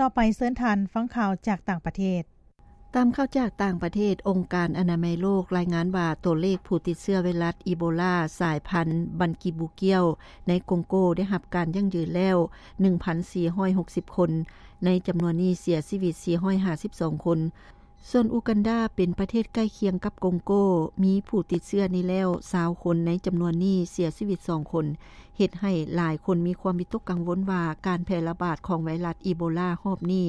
ຕໍ່ໄປເຊີນທ່ານຟັງຂ່າວຈາກຕ່າງປະເທດ. ຕາມຂ່າວຈາກຕ່າງປະເທດ, ອົງການອະນາໄມໂລກລາຍງານວ່າ ຕົວເລກຜູ້ຕິດເຊື້ອໄວຣັສອີໂບລາສາຍພັນບັນກີບູກຽວໃນກົງໂກໄດ້ຮັບການຢັ້ງຢືນແລ້ວ ໜຶ່ງພັນສີ່ຮ້ອຍຫົກສິບຄົນ, ໃນຈຳນວນນີ້ເສຍຊີວິດສີ່ຮ້ອຍຫ້າສິບສອງຄົນ. ສ່ວນອູກັນດາເປັນປະເທດໃກ້ຄຽງກັບກົງໂກ, ມີຜູ້ຕິດເຊື້ອນີ້ແລ້ວຊາວຄົນ, ໃນຈຳນວນນີ້ເສຍຊີວິດສອງຄົນ, ເຮັດໃຫ້ຫຼາຍຄົນມີຄວາມວິຕົກກັງວົນວ່າ ການແຜ່ລະບາດຂອງໄວຣັສອີໂບລາຮອບນີ້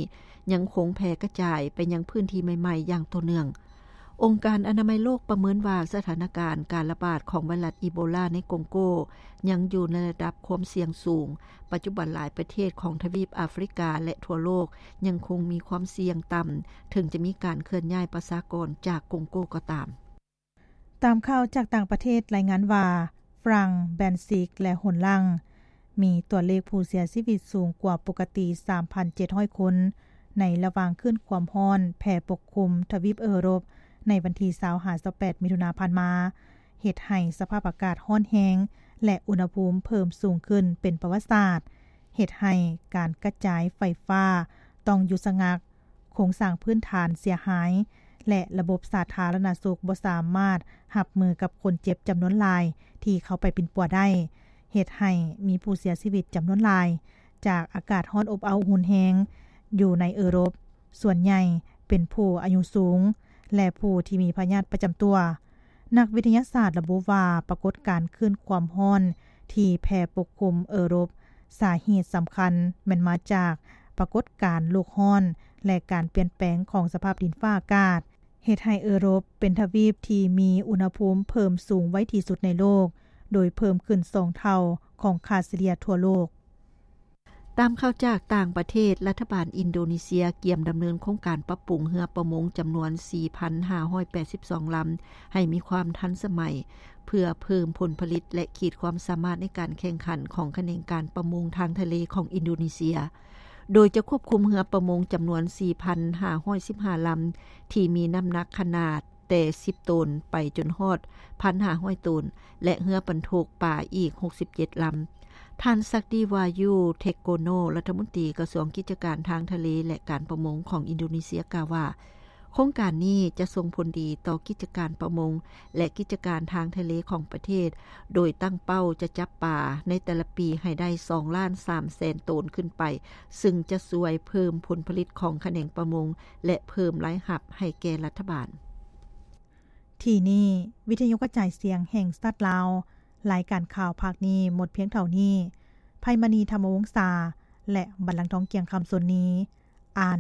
ຍັງຄົງແຜ່ກະຈາຍໄປຍັງພື້ນທີ່ໃໝ່ໆຢ່າງຕໍ່ເນື່ອງ. ອົງການອະນາໄມໂລກປະເມີນວ່າ ສະຖານະການການລະບາດຂອງໄວຣັສອີໂບລາໃນກົງໂກຍັງຢູ່ໃນລະດັບຄວາມສ່ຽງສູງ. ປັດຈຸບັນຫຼາຍປະເທດຂອງທະວີບອາຟຣິກາ ແລະ ທົ່ວໂລກຍັງຄົງມີຄວາມສ່ຽງຕ່ຳ, ເຖິງຈະມີການເຄື່ອນຍ້າຍປະຊາກອນຈາກກົງໂກກໍຕາມ. ຕາມຂ່າວຈາກຕ່າງປະເທດລາຍງານວ່າ ຝຣັ່ງ, ແບນຊິກ ແລະ ໂຮນລັງ ມີຕົວເລກຜູ້ເສຍຊີວິດສູງກວ່າປົກກະຕິສາມພັນເຈັດຮ້ອຍຄົນ ໃນລະຫວ່າງຄື້ນຄວາມຮ້ອນແຜ່ປົກຄຸມທະວີບເອີຣົບໃນວັນທີຊາວຫ້າ ຊາວແປດ ມິຖຸນາຜ່ານມາ, ເຮັດໃຫ້ສະພາບອາກາດຮ້ອນແຮງ ແລະ ອຸນຫະພູມເພີ່ມສູງຂຶ້ນເປັນປະຫວັດສາດ, ເຮັດໃຫ້ການກະຈາຍໄຟຟ້າຕ້ອງຢຸດຊະງັກ, ໂຄງສ້າງພື້ນຖານເສຍຫາຍ ແລະ ລະບົບສາທາລະນະສຸກບໍ່ສາມາດຮັບມືກັບຄົນເຈັບຈຳນວນຫຼາຍທີ່ເຂົ້າໄປປິ່ນປົວໄດ້, ເຮັດໃຫ້ມີຜູ້ເສຍຊີວິດຈຳນວນຫຼາຍ ຈາກອາກາດຮ້ອນອົບເອົ້າຮຸນແຮງຢູ່ໃນເອີຣົບ, ສ່ວນໃຫຍ່ເປັນຜູ້ອາຍຸສູງ ແລະ ຜູ້ທີ່ມີພະຍາດປະຈຳຕົວ. ນັກວິທະຍາສາດລະບຸວ່າ ປາກົດການຄື້ນຄວາມຮ້ອນທີ່ແຜ່ປົກຄຸມເອີຣົບ ສາເຫດສຳຄັນແມ່ນມາຈາກປາກົດການໂລກຮ້ອນ ແລະ ການປ່ຽນແປງຂອງສະພາບດິນຟ້າອາກາດ, ເຮັດໃຫ້ເອີຣົບເປັນທະວີບທີ່ມີອຸນຫະພູມເພີ່ມສູງໄວທີ່ສຸດໃນໂລກ, ໂດຍເພີ່ມຂຶ້ນສອງເທົ່າຂອງຄ່າສະເລ່ຍທົ່ວໂລກ. ຕາມຂ່າວຈາກຕ່າງປະເທດ, ລັດຖະບານອິນໂດນີເຊຍກຽມດຳເນີນໂຄງການປັບປຸງເຮືອປະມົງຈຳນວນສີ່ພັນຫ້າຮ້ອຍແປດສິບສອງລຳ ໃຫ້ມີຄວາມທັນສະໄໝ ເພື່ອເພີ່ມຜົນຜະລິດ ແລະ ຂີດຄວາມສາມາດໃນການແຂ່ງຂັນຂອງຂະແໜງການປະມົງທາງທະເລຂອງອິນໂດນີເຊຍ, ໂດຍຈະຄວບຄຸມເຮືອປະມົງຈຳນວນສີ່ພັນຫ້າຮ້ອຍສິບຫ້າລຳ ທີ່ມີນ້ຳໜັກຂະໜາດແຕ່ສິບໂຕນໄປຈົນຮອດພັນຫ້າຮ້ອຍໂຕນ ແລະ ເຮືອບັນທຸກປາອີກຫົກສິບເຈັດລຳ. ທ່ານ ສັກດີວາຍຸ ເທັກໂກໂນ ລັດຖະມົນຕີກະຊວງກິດຈະການທາງທະເລ ແລະ ການປະມົງຂອງອິນໂດນີເຊຍ ກ່າວວ່າ ໂຄງການນີ້ຈະສົ່ງຜົນດີຕໍ່ກິດຈະການປະມົງ ແລະ ກິດຈະການທາງທະເລຂອງປະເທດ, ໂດຍຕັ້ງເປົ້າຈະຈັບປາໃນແຕ່ລະປີໃຫ້ໄດ້ສອງລ້ານສາມແສນໂຕນຂຶ້ນໄປ, ຊຶ່ງຈະຊ່ວຍເພີ່ມຜົນຜະລິດຂອງຂະແໜງປະມົງ ແລະ ເພີ່ມລາຍຮັບໃຫ້ແກ່ລັດຖະບານ. ທີ່ນີ້ ວິທະຍຸກະຈາຍສຽງແຫ່ງຊາດລາວ, ລາຍການຂ່າວພາກນີ້ໝົດພຽງເທົ່ານີ້. ໄພມະນີ ທຳມະວົງສາ ແລະ ບັນລັງທອງ ກ່ຽງຄຳ ສົນນີ ອ່ານ.